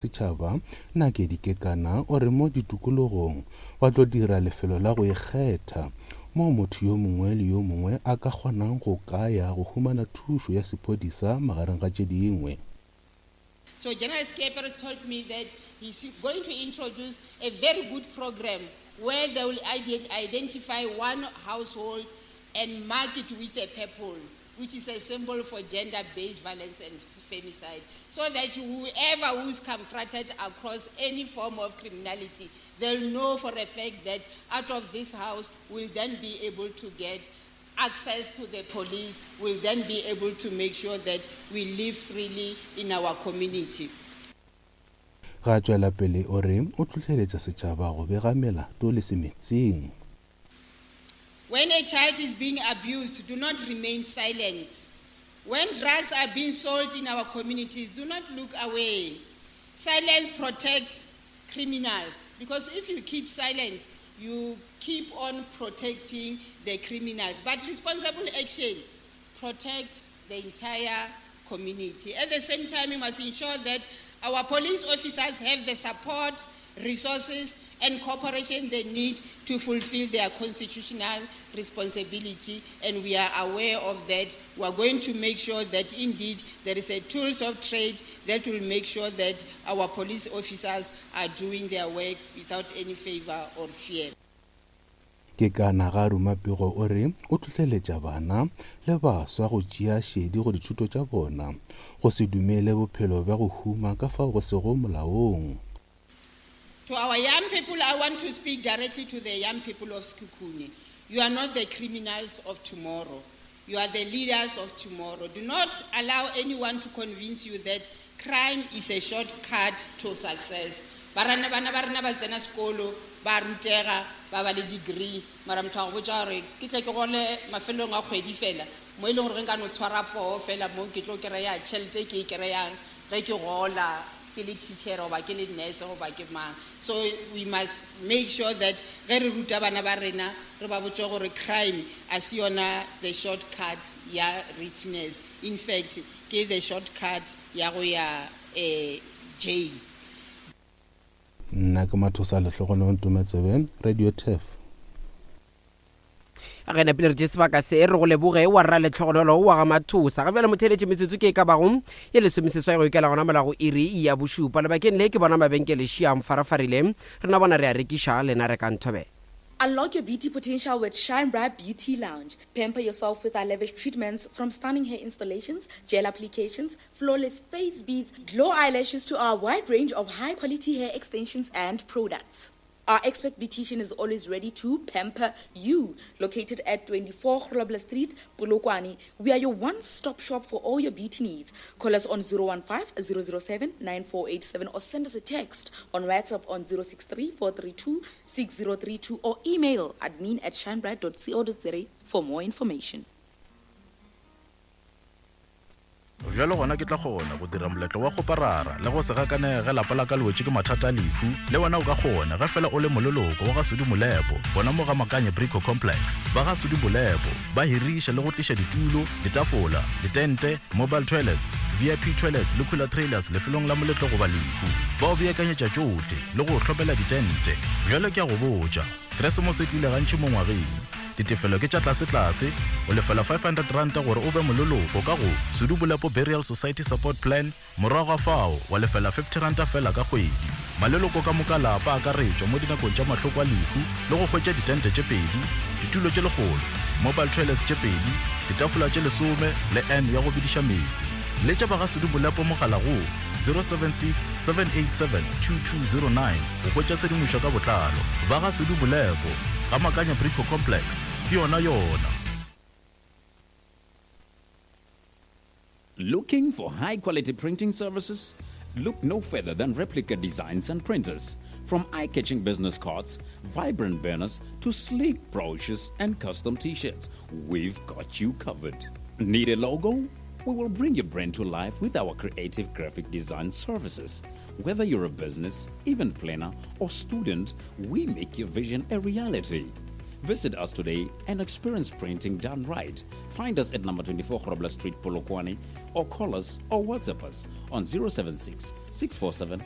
Setšhaba, Nakedi Kekana o re mo ditokologong ba tlo dira lefelo la go ikgetha moo motho yo mongwe le yo mongwe a ka kgonang go ka ya go humana thušo ya sephodisa magareng ga tše dingwe. So General Scheepers told me that he's going to introduce a very good program where they will identify one household and mark it with a purple, which is a symbol for gender-based violence and femicide, so that whoever who's confronted across any form of criminality, they'll know for a fact that out of this house we'll then be able to get access to the police, we'll then be able to make sure that we live freely in our community. Ga a tšwela pele o re o hlohleletša setšhaba go bega melato le semetsing. When a child is being abused, do not remain silent. When drugs are being sold in our communities, do not look away. Silence protects criminals because if you keep silent, you keep on protecting the criminals. But responsible action protects the entire community. At the same time, we must ensure that our police officers have the support, resources, and cooperation they need to fulfill their constitutional responsibility, and we are aware of that. We are going to make sure that indeed there is a tools of trade that will make sure that our police officers are doing their work without any favor or fear. Ke ka na ga ruma pego o re o hlohleletša bana le baswa go tšea šedi go dithuto tša bona, go se dumele bophelo bja go huma ka fao go sego molaong. To our young people, I want to speak directly to the young people of Sekhukhune. You are not the criminals of tomorrow. You are the leaders of tomorrow. Do not allow anyone to convince you that crime is a shortcut to success. Ba rena bana ba rena ba tsena sekolo, ba rutega, ba ba le degree, mara motho a go botša gore ke tle ke gole mafelelong a kgwedi fela, mo e leng gore ge nka no tshwara poo fela mo ke tlo kry-a tšhelete e ke e kry-ang ge ke gola ke le teacher goba ke le nurse goba ke mang. So we must make sure that ge re ruta bana ba rena re ba botše gore crime a se yona the short cut ya richness, in fact ke the short cut ya go ya jail. Nna ke Mathosa Lehlogonolo Ntometsebe, Radio Turf. Ge napile re tše sebaka se re go leboge wa rra Letlhogonolo wa ga Mathosa. Ga bjale motheeletše metsotso ke e ka bago ye lesomeseswai go ikela gona mola go iri ya bošupa. Lebakeng le ke bona mabenkele šiang farafarile. Rena bona re a rekiša, lena rekang thobela. Unlock your beauty potential with Shine Bright Beauty Lounge. Pamper yourself with our lavish treatments from stunning hair installations, gel applications, flawless face beads, glow eyelashes to our wide range of high quality hair extensions and products. Our expert beautician is always ready to pamper you. Located at 24 Grobler Street, Polokwane, we are your one-stop shop for all your beauty needs. Call us on 015 007 9487 or send us a text on WhatsApp on 063 432 6032 or email admin at shinebright.co.za for more information. Bjalo gona ke tla kgona go dira moletlo wa kgoparara le go se gakanege ge lapa la ka le wetše ke mathata a lehu. Le wena o ka kgona ge fela o le moleloko wa ga Sudi Molepo gona mo ga Makanye Brico Complex. Ba ga Sudi Molepo ba hiriša le go tliša ditulo, ditafola, ditente, mobile toilets, VIP toilets le cooler trailers lefelong la moletlo goba lehu. Ba o beakanyetša tšohle le go o hlomela ditente. Bjalo ke a go botša, Keresemose e tlile gantši mo ngwageng. Ditefelo ke tša tlasetlase, o lefela R500 gore o be moleloko ka go Sudu Bolepo Burial Society Support Plan, morago ga fao wa lefela R50 feela ka kgwedi. Maleloko ka moka a lapa a akaretšwa mo dinakong tša mahloko a lehu le go hwetša ditente tše pedi, ditulo tše lekgolo, mobile toilets tše pedi, ditafola tše lesome le urn ya go bediša meetse. Letša ba ga Sudu Bolepo mogala go 076 787 2209 go hwetša tshedimošo ka botlalo. Ba ga Sudu Bolepo, Ga Makanya Brico Complex, ke yona yona. Looking for high quality printing services? Look no further than Replica Designs and Printers. From eye catching business cards, vibrant banners, to sleek brochures and custom t shirts, we've got you covered. Need a logo? We will bring your brand to life with our creative graphic design services. Whether you're a business, event planner, or student, we make your vision a reality. Visit us today and experience printing done right. Find us at number 24 Grobler Street, Polokwane, or call us or WhatsApp us on 076 647